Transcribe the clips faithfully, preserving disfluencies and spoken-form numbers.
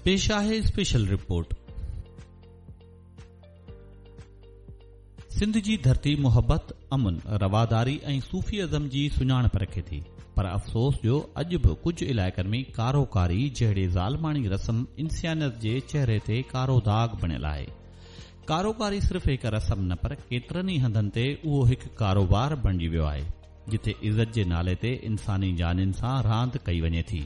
پيش آهي special report. Sindh جي ڌرتي محبت، امن، رواداري ۽ صوفي ازم جي سڃاڻپ رکي ٿي، پر افسوس جو اڄ به ڪجهه علائقن ۾ ڪاروڪاري جهڙي ظالماڻي رسم انسانيت جي چهري تي ڪارو داغ بڻيل آهي. ڪاروڪاري صرف هڪ رسم نه پر ڪيترن ئي هنڌن تي اهو هڪ ڪاروبار بڻجي ويو آهي، جتي عزت جي نالي تي انساني جانين سان راند ڪئي وڃي ٿي.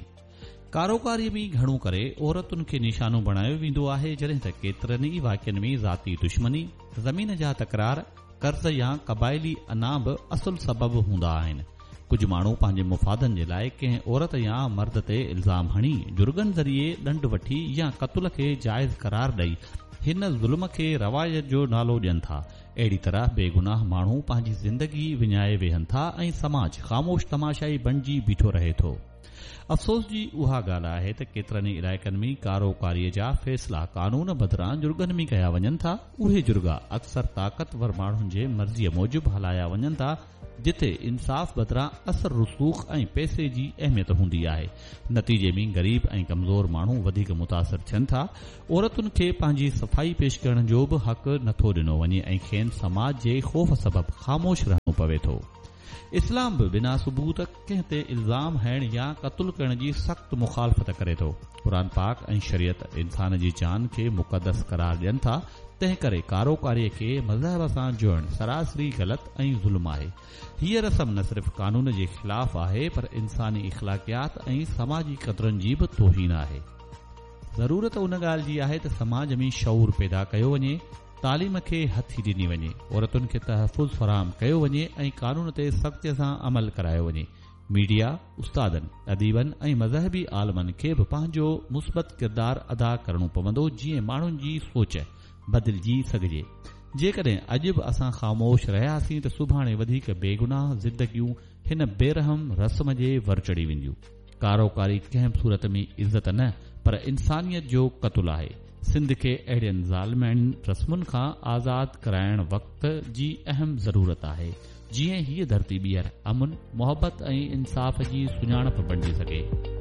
ڪاروڪاري ۾ گهڻو ڪري عورتن کي نشانو بڻايو ويندو آهي، جڏهن ته ڪيترن ئي واقعن ۾ ذاتي دشمني، زمين جا تڪرار، قرض يا قبائلي انا به اصل سبب هوندا آهن. ڪجهه ماڻهو پنهنجي مفادن جي لاءِ ڪنهن عورت يا مرد تي الزام هڻي جرڳن ذريعي ڏنڊ وٺي يا قتل کي جائز قرار ڏئي هن ظلم کي روايت جو نالو ڏين ٿا. اهڙي طرح بيگناهه ماڻهو پنهنجي زندگي وڃائي ويهن ٿا ۽ سماج خاموش تماشائي بڻجي بيٺو رهي ٿو. افسوس جي اها ڳالهه آهي ته ڪيترن ئي علائقن ۾ ڪاروڪاريءَ جا فيصلا قانون بدران جرڳن ۾ ڪيا وڃن ٿا. اهي جرڳا اڪثر طاقتور ماڻهن جي مرضيءَ موجب هلايا وڃن ٿا، جتي انصاف بدران اثر رسوخ ۽ پئسي جي اهميت هوندي آهي. نتيجي ۾ غريب ۽ ڪمزور ماڻهو وڌيڪ متاثر ٿين ٿا. عورتن کي پنهنجي صفائي پيش ڪرڻ جو به حق نٿو ڏنو وڃي ۽ کين سماج جي خوف سبب خاموش رهڻو پوي ٿو. اسلام به بنا ثبوت ڪنهن تي الزام هڻڻ يا قتل ڪرڻ جي سخت مخالفت ڪري ٿو. قرآن پاڪ ۽ شريعت انسان جي جان کي مقدس قرار ڏين ٿا، تنهن ڪري ڪاروڪاريءَ کي مذهب سان جوڙڻ سراسري غلط ۽ ظلم آهي. هيءَ رسم نه صرف قانون جي خلاف آهي پر انساني اخلاقيات ۽ سماجي قدرن جي به توهين آهي. ضرورت ان ڳالهه جي آهي ته سماج ۾ شعور پيدا ڪيو وڃي، تعليم کي هٿي ڏني وڃي، عورتن کي تحفظ فراهم ڪيو وڃي ۽ قانون تي سختيءَ سان عمل ڪرايو وڃي. ميڊيا، استادن، اديبن ۽ مذهبي عالمن کي به پنهنجو مثبت ڪردار ادا ڪرڻو پوندو، جيئن ماڻهن جي سوچ بدلجي سگهجي. جيڪڏهن اڄ به اسان خاموش رهياسين ته سڀاڻي وڌيڪ بيگناهه زندگيون هن بيرحم رسم جي ور چڙهي وينديون. ڪاروڪاري ڪنهن به صورت ۾ عزت نه پر انسانيت جو قتل آهي. سنڌ کي اهڙين ظالماڻين رسمن کان آزاد ڪرائڻ وقت جي اهم ضرورت آهي، جيئن هيءَ ڌرتي ٻيهر امن، محبت ۽ انصاف جي سڃاڻپ بڻجي سگهي.